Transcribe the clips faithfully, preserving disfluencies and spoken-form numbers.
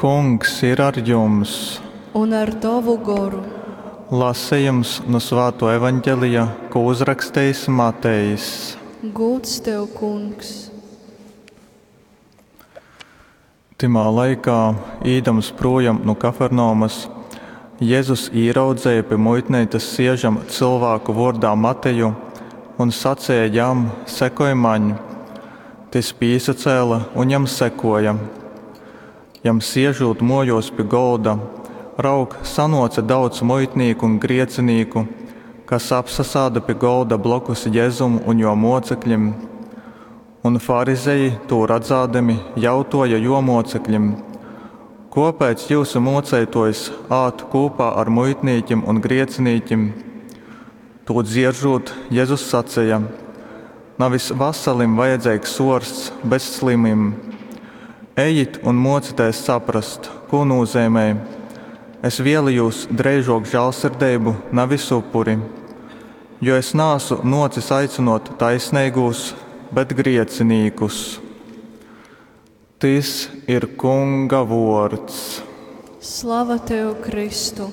Kungs ir ar jums! Un ar tovu goru. Lasejums nu Svātuo Evaņgelija, ko uzrakstejis Matejs. Gūds tev, Kungs! Tymā laikā, īdams prūjom nu Kafarnaumas, Jezus īraudzeja pi muitneicas siežam cylvāku vōrdā Mateju un saceja jam: Sekoj maņ! Tys pīsacēle un jam sekōja. Jam siežūt mōjōs pi golda, raug, sanōce daudz muitnīku un griecinīku, kas apsasāda pi golda blokus Jezum un jō mōceklim. Un farizeji, tū radzādami, jautōja jō mōceklim: Kōpēc jyusu mōceitōjs ād kūpā ar muitnīkim un griecinīkim? Tū dzieržūt, Jezus saceja: Navis vasalim vajadzeigs ōrsts, bet slimim. Ejit un mōcitēs saprast, kū nūzeimej: Es vēlējos dreižōk žālsirdeibu, navis upuri. Jo es naasu nōcis aicynōt taisneigūs, bet griecinīkus. Tys ir Kunga vōrds. Slava tev, Kristu!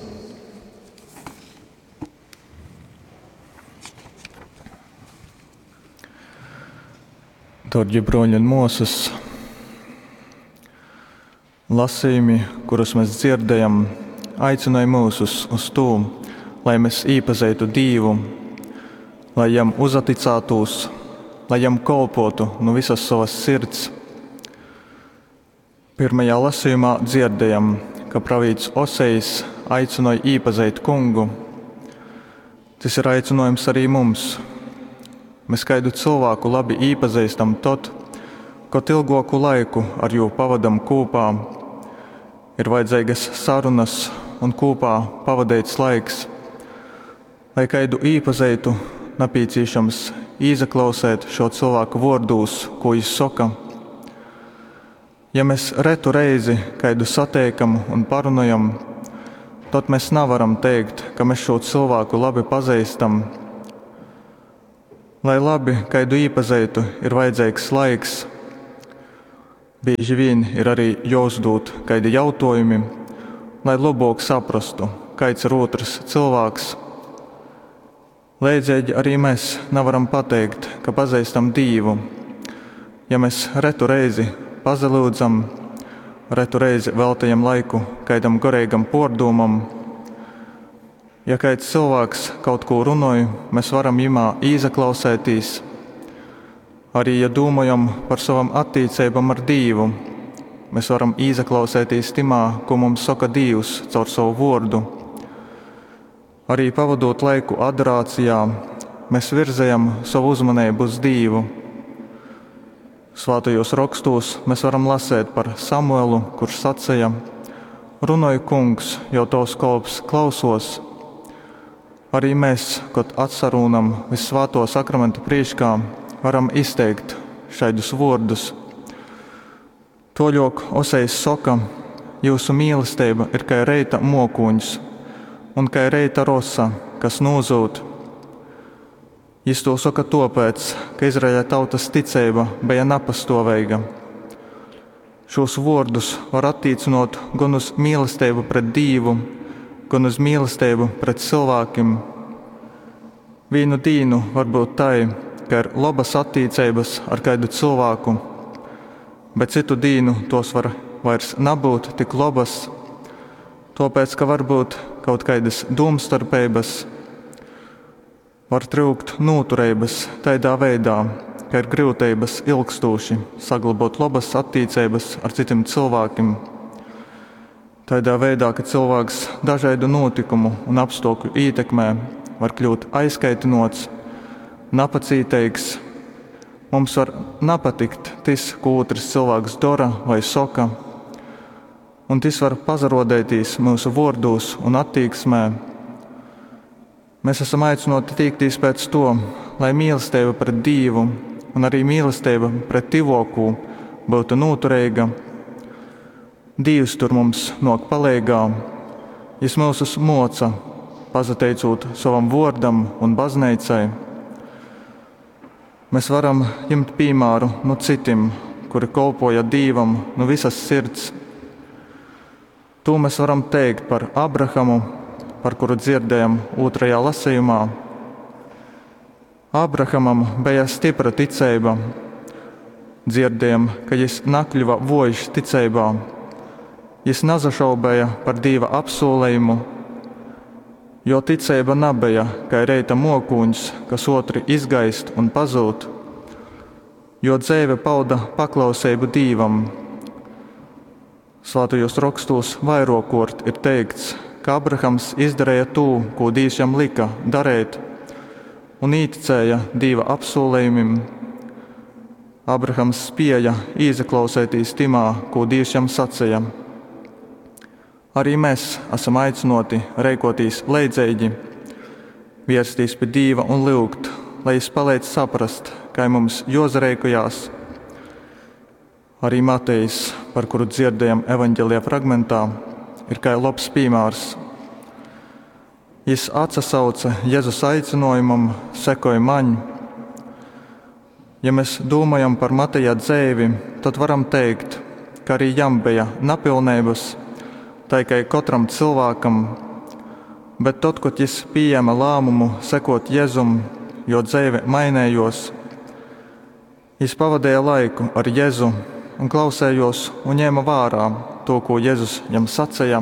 Dārgie broļi un māsas, lasījumi, kurus mēs dzirdējam, aicināja mūsus uz to, lai mēs iepazeitu Dievu, lai jam uzaticētos, lai jam kolpotu no visas savas sirds. Pirmajā lasījumā dzirdējam, ka pravīts Osejs aicināja iepazīt kungu. Tas ir aicinājums arī mums. Mēs kādu cilvēku labi iepazīstam tad, kad ilgāku laiku ar jū pavadam kopā. Ir vajadzīgas sarunas un kopā pavadīts laiks. Lai kādu iepazītu, nepieciešams ieklausēt šo cilvēku vārdus, ko viņš saka. Ja mēs retu reizi kādu satiekam un parunājam, tad mēs nevaram teikt, ka mēs šo cilvēku labi pazīstam. Lai labi kādu iepazītu, ir vajadzīgs laiks. Bieži vien ir arī jāuzdod kādi jautājumi, lai labāk saprastu, kāds ir otrs cilvēks. Līdzīgi arī mēs nevaram pateikt, ka pazīstam Dievu, ja mēs retu reizi pazelūdzam, retu reizi veltījam laiku kādam garīgam pordūmam. Ja kāds cilvēks kaut ko runāja, mēs varam jimā īzaklausētīs. Arī, ja domājam par savam attiecībām ar Dievu, mēs varam īzaklausētīs timā, ko mums saka Dievs caur savu vārdu. Arī pavadot laiku adorācijā, mēs virzējam savu uzmanību uz Dievu. Svētajos rakstos mēs varam lasēt par Samuelu, kurš sacīja: Runāju, kungs, jo tavs kolps klausos. Arī mēs, kad atsarūnam visvēto sakramentu priekšā, varam izteikt šādus vārdus. Toļok Osejs saka, jūsu mīlestība ir kā reita mokūņs un kā reita rosa, kas nūzūd. Jis to saka tāpēc, ka Izraēļa tautas ticība bija nepastāvīga. Šos vārdus var attiecinot gan uz mīlestību pret Dievu, gan uz mīlestību pret cilvēkiem. Vienu dienu var būt tai, ka ir labas attiecības ar kādu cilvēku, bet citu dienu tos var vairs nebūt tik labas, tāpēc, ka varbūt kaut kādas domstarpības, var trūkt noturības tādā veidā, ka ir grūtības ilgstoši saglabāt labas attiecības ar citiem cilvēkiem. Tādā veidā, ka cilvēks dažādu notikumu un apstākļu ietekmē var kļūt aizkaitinots, napacītīgs. Mums var nepatikt tas, ko otrs cilvēks dara vai saka, un tas var pazarodēties mūsu vārdos un attieksmē. Mēs esam aicināti tiekties pēc to, lai mīlestība pret Dievu un arī mīlestība pret tivokū būtu noturīga. Dievs tur mums nok palīgā, Jis mūsus moca, pazateicot savam vārdam un baznīcai. Mēs varam ņemt piemēru no citiem, kuri kalpoja Dievam no visas sirds. Tū mēs varam teikt par Abrahamu, par kuru dzirdējam ūtrajā lasījumā. Abrahamam beja stipra ticeiba. Dzirdējam, ka jis nakļuva vojš ticeibā. Jis nazašaubēja par Dīva apsūlējumu, jo ticeiba nabeja kai reita mokūņs, kas otri izgaist un pazūd, jo dzeive pauda paklauseibu Dīvam. Svātajos rokstūs vairokort ir teikts, ka Abrahams izdarīja tū, ko Dīvs jam lika darīt, un īticēja Dīva apsūlējumim. Abrahams spēja īsaklausētīs timā, ko Dīvs jam sacīja. Arī mēs esam aicināti reikotīs leidzīgi, vērstīs pie Dīva un lūgt, lai Jis palīdz saprast, kā mums jozareikojās. Arī Matejs, par kuru dzirdējam evaņģēlija fragmentā, ir kā labs piemērs. Jis atsasauca Jēzus aicinājumam, sekoja maņ. Ja mēs domājam par Mateja dzēvi, tad varam teikt, ka arī jam bija napilnības, tai kā katram cilvēkam, bet tad, kad jis pieņēma lēmumu sekot Jēzum, jo dzēve mainējos, jis pavadīja laiku ar Jēzu un klausējos un ņēma vērā to, ko Jēzus jam sacīja.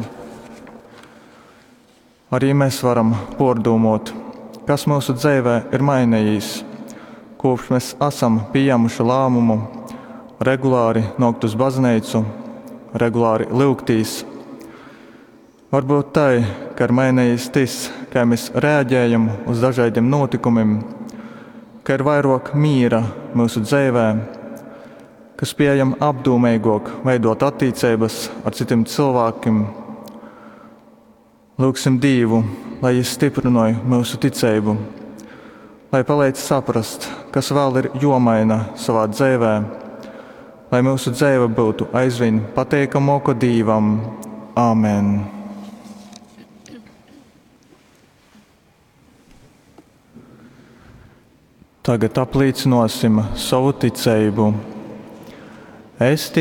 Arī mēs varam pordūmot, kas mūsu dzīvē ir mainījis, kopš mēs esam pieņēmuši lēmumu regulāri nokt uz baznīcu, regulāri lūgtīs. Varbūt tai, ka ir mainījis tas, kā mēs reaģējam uz dažādiem notikumiem, ka ir vairāk mīra mūsu dzīvē, ka spējam apdomīgāk veidot attiecības ar citiem cilvēkiem. Lūgsim Dievu, lai Jis stiprināja mūsu ticību, lai palīdz saprast, kas vēl ir jomaina savā dzīvē, lai mūsu dzīve būtu aizvien pateikamāka Dievam. Āmen! Tagad apliecināsim savu ticību. Es ticu